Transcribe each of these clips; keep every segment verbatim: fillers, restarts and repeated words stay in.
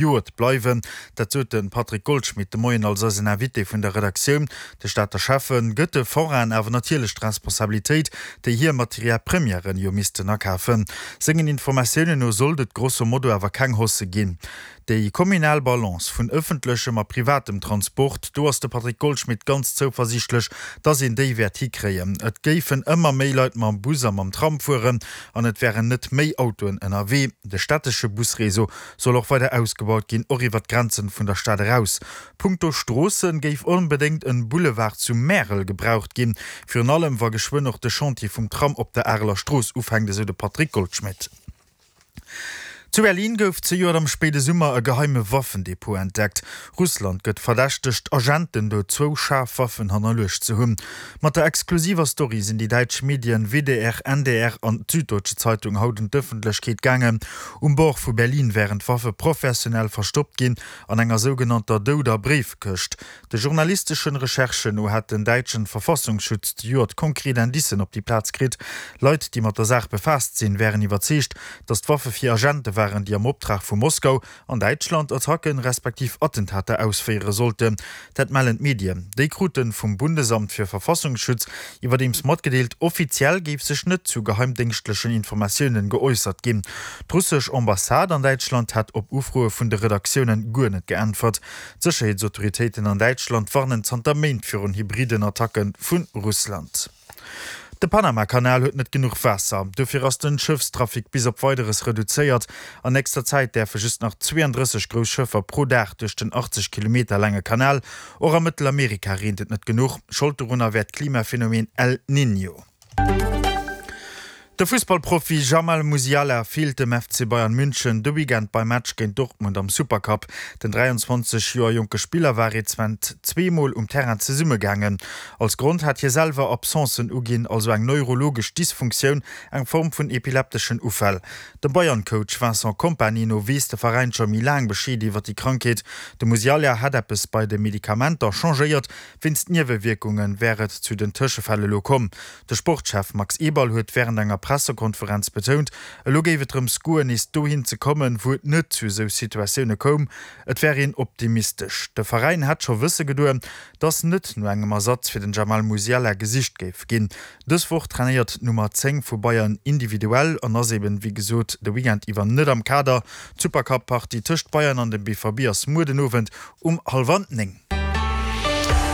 Zejoert bleiwen. Dat sot de Patrick Goldschmidt de Moien als eisen Invité vun der Redaktioun. De Stater Schäffe gëtt de Forainen awer natierlech d'Responsabilitéit, déi hir Matière premièren jo missten akafen. Sengen Informatiounen no sollt et grosso modo awer keng Hausse ginn. Déi kommunal Balance vun ëffentlechem a privatem Transport, do ass de Patrick Goldschmidt ganz zouversiichtlech, dass een déi wäert hikréien. Et géifen ëmmer méi Leit mam Bus a mam Tram fueren an et wären net méi Autoen ënnerwee. De stättesche Busreseau soll och weider ausgebaut ginn, och iwwer d'Grenzen vun der Stad eraus. Punkto Stroossen géif onbedéngt en Boulevard zu Märel gebraucht ginn, virun allem wa geschwënn och de Chantier vum Tram op der Areler Strooss ufänkt, esou de Patrick Goldschmidt. Zu Berlin gouf zejoert am spéide Summer e geheime Waffendepot entdeckt. Russland gëtt verdächtegt, Agenten do zwou schaarf Waffen hannerluecht ze hunn. Mat der exklusiver Story sinn déi däitsch Medien W D R, N D R an d'Süddeutsche Zeitung haut un d'Ëffentlechkeet gaangen. Um Bord vu Berlin wären d'Waffe professionell verstoppt ginn, an enger sougenannter douder Bréifkëscht. De journalisteschen Recherchen no hätt den däitschen Verfassungsschutz zejoert konkret Indicen op déi Plaz kritt. Leit, déi mat der Saach befaasst sinn, wären iwwerzeegt, datt d'Waffe fir Agente waren, déi am Optrag vu Moskau an Däitschland Attacken, respektiv Attentater ausféiere sollten. Dat mellen d'Medien. Déi krute vum Bundesamt für Verfassungsschutz iwwerdeems matgedeelt, offiziell géif sech net zu geheimdéngschtlechen Informatiounen geäussert ginn. D'russesch Ambassade an Däitschland hätt op Ufroe vun de Redaktiounen guer net geäntwert. D'Sécherheetsautoritéiten an Däitschland warnen zanter Méint virun hybriden Attacke vu Russland. De Panamakanal huet net genuch Waasser, dofir ass den Schëffstrafic bis op Weideres reduzéiert. An nächster Zäit däerfe just nach zweeëndrësseg grouss Schëffer pro Dag duerch den achtzeg Kilometer laange Kanal. Och a Mëttelamerika reent et net genuch. Schold dorunner wär d'Klimaphenomen El Niño. De Fussballprofi Jamal Musiala feelt dem F C Bayern München de Weekend beim Match géint Dortmund am Supercup. Den dräianzwanzeg Joer jonke Spiller war rezent zweemol um Terrain zesummegaangen. Als Grond hat hie selwer Absencen uginn, also eng neurologesch Dysfunktioun, eng Form vun epilepteschen Ufäll. Dem Bayern-Coach Vincent Kompany no weess de Veräin scho méi laang Bescheed iwwer déi Krankheet. De Musiala hätt eppes bei de Medikamenter changéiert, wéinst Niewewierkunge wär et zu den Tëschefäll elo komm. De Sportschef Max Eberl huet wärend enger Pressekonferenz betount, elo géif et drëms goen, nees dohin ze kommen, wou et net zu esou Situatioune koum. Et wär een optimistesch. De Veräin hätt scho wësse gedoen, datt net no engem Ersatz fir den Jamal Musiala gesicht géif ginn. Dës Woch trainéiert d'Nummer zéng vu Bayern individuell an ass eben, wéi gesot, de Weekend iwwer net am Kader. D'Supercup-Partie tëscht Bayern an dem B V B ass muer den Owend um hallwer néng.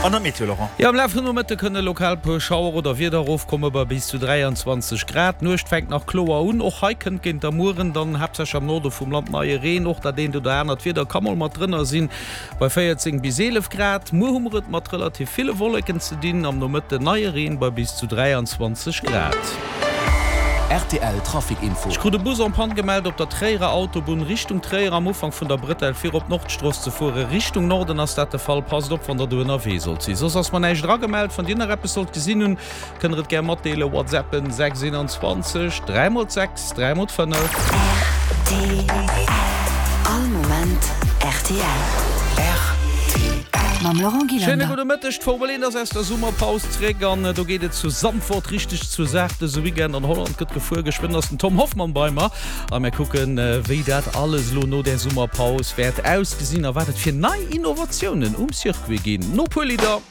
An der Meteo, Laurent. Jo, am Laf vum Nomëtte kënne lokal puer Schauer oder Wieder erofkomme bei bis zu dräianzwanzeg Grad. D'Nuecht fänkt nach kloer un, och hei kënnt géint der Mueren dann haaptsächlech am Norde vum Land neie Reen. Och dat eent oder anert Wieder ka mol mat drënner sinn bei véierzéng bis eelef Grad. Muer hu mer et mat relativ ville Wolleken ze dinn, am Nomëtte neie Reen bei bis zu dräianzwanzeg Grad. R T L Trafic Info. Ech krut e Bus en panne gemellt op der Tréierer Autobunn Richtung Tréier am Ufank vun der Brëtell fir op d'Nordstrooss ze fuere. Richtung Norden ass dat de Fall. Passt op wann der do ënnerwee sollt sinn. Soss ass mer näischt eragemellt. Wann dir nach eppes sollt gesinn hunn, kënnt der et gär matdeelen. Whatsappen sechs einundzwanzeg dräi mol sechs dräi mol fënnef. R T L. All Moment R T L. R T L. Mam Laurent Schéine Gillander. Gudde Mëtteg. D'Formel eent ass aus der Summerpaus zréck an do geet et zu Zandvoort richteg zur Saach. Dëse Weekend an Holland gëtt gefuer. Geschwënn ass den Tom Hoffmann bei mer a mir kucken, wéi dat alles elo no der Summerpaus wäert ausgesinn a wat et fir nei Innovatiounen um Circuit ginn. No puer Lidder.